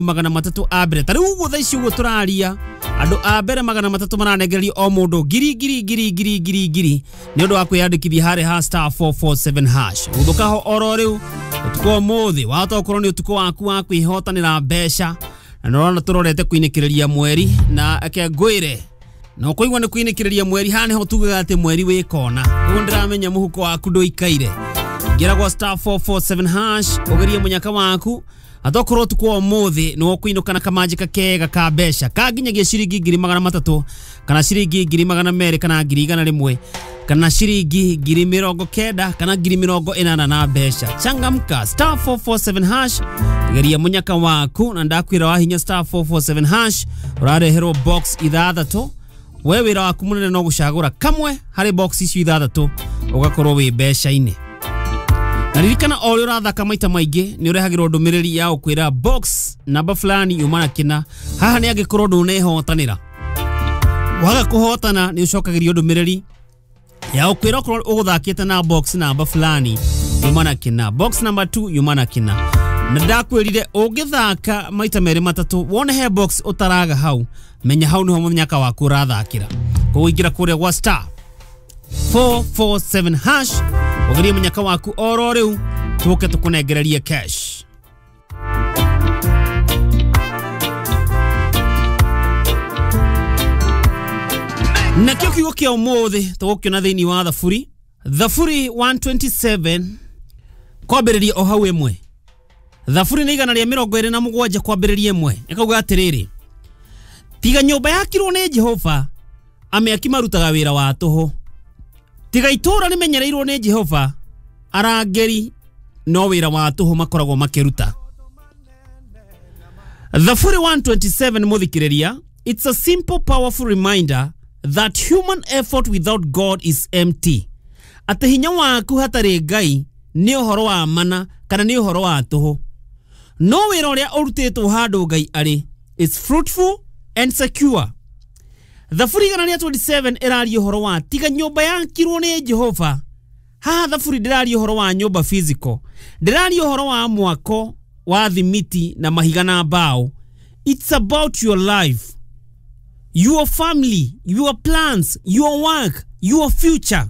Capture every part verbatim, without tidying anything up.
Magana matatu a mbere ta rĩu ũguo thaa ici ũguo tũraria, andũ a mbere magana matatũ maranengererio o mũndũ ngiri ngiri ngiri ngiri ngiri ngiri nĩ ũndũ wa kwĩyandĩkithia harĩ ha star four four seven hash. Gũthũka ho oro rĩu ũtukũ ũmũthĩ wahota gũkorwo nĩ ũtukũ waku wa kwĩhotanĩra mbeca, na nĩũrona tũrorete kũinĩkĩrĩria mweri, na eke ngwĩre na ũkũigua nĩ kũinĩkĩrĩria mweri, haha nĩho tugaga atĩ mweri wĩ kona. Ũguo ndĩramenya mũhuko waku ndũikaire. Ingĩra gwa star four four seven hash ũgerie mũnyaka waku, atokorwo ũtukũ wa ũmũthĩ nĩ ũkũinũka na kamanjĩka kega ka mbeca ka nginyagia ciringi ngiri magana matatũ kana ciringi ngiri magana merĩ kana ngiri igana rĩmwe kana ciringi ngiri mĩrongo kenda kana ngiri mĩrongo ĩnana na mbeca. Changamka, star four four seven hash, geria mũnyaka waku, na ndakwĩra wahinya star four four seven hash ũrareherwo box ithathatũ. We wĩra waku mũnene no gũcagũra kamwe harĩ box icio ithathatũ ũgakorwo wĩ mbeca-inĩ. Na ririkana o ũrĩa ũrathaka maita maingĩ nĩ ũrehagĩrwo ndũmĩrĩri ya gũkwĩra box namba fulani yuma na kĩna. Haha nĩ angĩkorwo ndũnehotanĩra, waga kũhotana nĩ ũcokagĩrio ndũmĩrĩri ya gũkwĩra okorwo ũgũthakĩte na box namba fulani yuma na kĩna, box number two yuma na kĩna. Na ndakwĩrire ũngĩthaka maita merĩ matatũ wone he box ũtaraga hau, menya hau nĩho mũnyaka waku ũrathakĩra. Koguo ingĩra kũrĩa gwa star four four seven hash ũgerie mũnyaka waku oro rĩu tũke tũkũnengererie cash. Nakĩo kiugo kĩa ũmũthĩ tũgũkĩona thĩinĩ wa Thaburi, Thaburi one twenty-seven kwambĩrĩria o hau ĩmwe. Thaburi nĩ igana rĩa mĩrongo ĩrĩ na mũgwanja kwambĩrĩria ĩmwe. Ĩkauga atĩrĩrĩ, tiga nyũmba yakirwo nĩ Jehova, amĩaki marutaga wĩra wa tũhũ. Tiga itũũra rĩmenyereirwo nĩ Jehova, arangĩri no wĩra wa tũhũ makoragwo makĩruta. Thaburi one twenty-seven mũthikĩrĩria, it's a simple powerful reminder that human effort without God is empty. Atĩ hinya waku hatarĩ Ngai nĩ ũhoro wa mana kana nĩ ũhoro wa tũhũ. No wĩra ũrĩa ũrutĩtwo handũ Ngai arĩ is fruitful and secure. Thaburi igana rĩa twenty-seven ĩraria ũhoro wa tiga nyũmba yakirwo nĩ Jehova. Haha Thaburi ndĩraria ũhoro wa nyũmba physical, ndĩraria ũhoro wa mwako wa thimiti na mahiga na mbao. It's about your life, your family, your plans, your work, your future.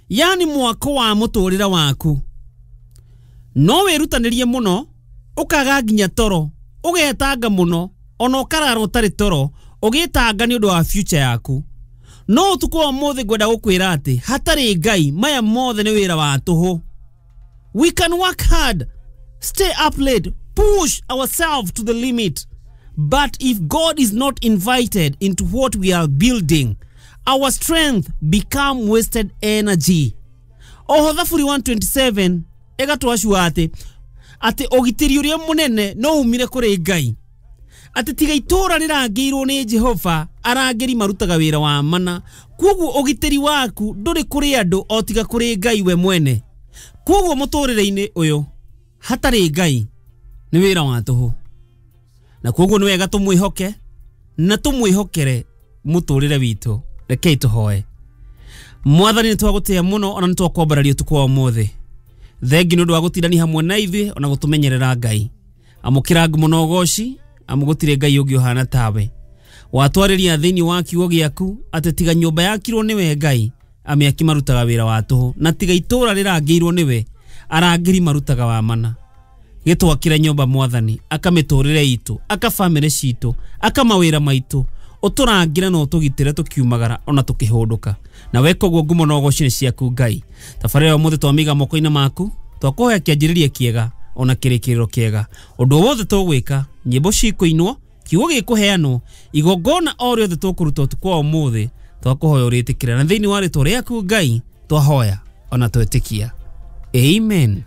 Yani mwako wa mũtũrĩre waku. No wĩrutanĩrie mũno ũkaga nginya toro, ũgetanga mũno ona ũkarara ũtarĩ toro ũgĩtanga nĩ ũndũ wa future yaku. No ũtukũ wa ũmũthĩ ngwenda gũkwĩra atĩ hatarĩ Ngai maya mothe nĩ wĩra wa tũhũ. We can work hard, stay up late, push ourselves to the limit, but if God is not invited into what we are building, our strength become wasted energy. Oho Thaburi one twenty-seven ĩgatwacua atĩ atĩ ũgitĩri ũrĩa mũnene no umire kũrĩ Ngai. Atĩ tiga itũũra rĩrangĩirwo nĩ Jehova, arangĩri marutaga wĩra wa mana. Koguo ũgitĩri waku ndũrĩ kũrĩ andũ o tiga kũrĩ Ngai we mwene. Koguo mũtũrĩre-inĩ ũyũ hatarĩ Ngai nĩ wĩra wa tũhũ. Na koguo nĩ wega tũmwĩhoke na tũmwĩhokere mũtũrĩre witũ. Rekei tũhoe. Mwathani nĩ twagũtĩa mũno ona nĩ twakwambararia ũtukũ wa ũmũthĩ. Thengi nĩ ũndũ wa gũtindania hamwe na ithuĩ ona gũtũmenyerera Ngai. Amũkĩra ngumo na ũgoci, amu gũtirĩ Ngai ũngĩ ũhana tawe. Watwarĩria thĩinĩ wa kiugo gĩaku atĩ tiga nyũmba yakirwo nĩwe Ngai, amĩaki marutaga wĩra wa tũhũ, na tiga itũũra rĩrangĩirwo nĩwe, arangĩri marutaga wa mana. Gĩtwakĩre nyũmba Mwathani, aka mĩtũrĩre itũ, aka bamĩrĩ citũ, aka mawĩra maitũ, ũtũrangĩre na ũtũgitĩre tũkiumagara ona tũkĩhũndũka. Na weka ũguo ngumo na ũgoci nĩ ciaku Ngai. Tabarĩra ya ũmũthĩ twamĩiga moko-inĩ maku, twakũhoya kĩanjĩrĩria kĩega ona kĩrĩkĩrĩro kĩega. Ũndũ wothe tũgwĩka, nyĩmbo cikũinwo, kiugo gĩkũheanwo, igongona o rĩothe tũkũruta ũtukũ wa ũmũthĩ, twakũhoya ũrĩtĩkĩre. Na thĩinĩ wa rĩtwa rĩaku Ngai, twahoya ona twetĩkia. Amen.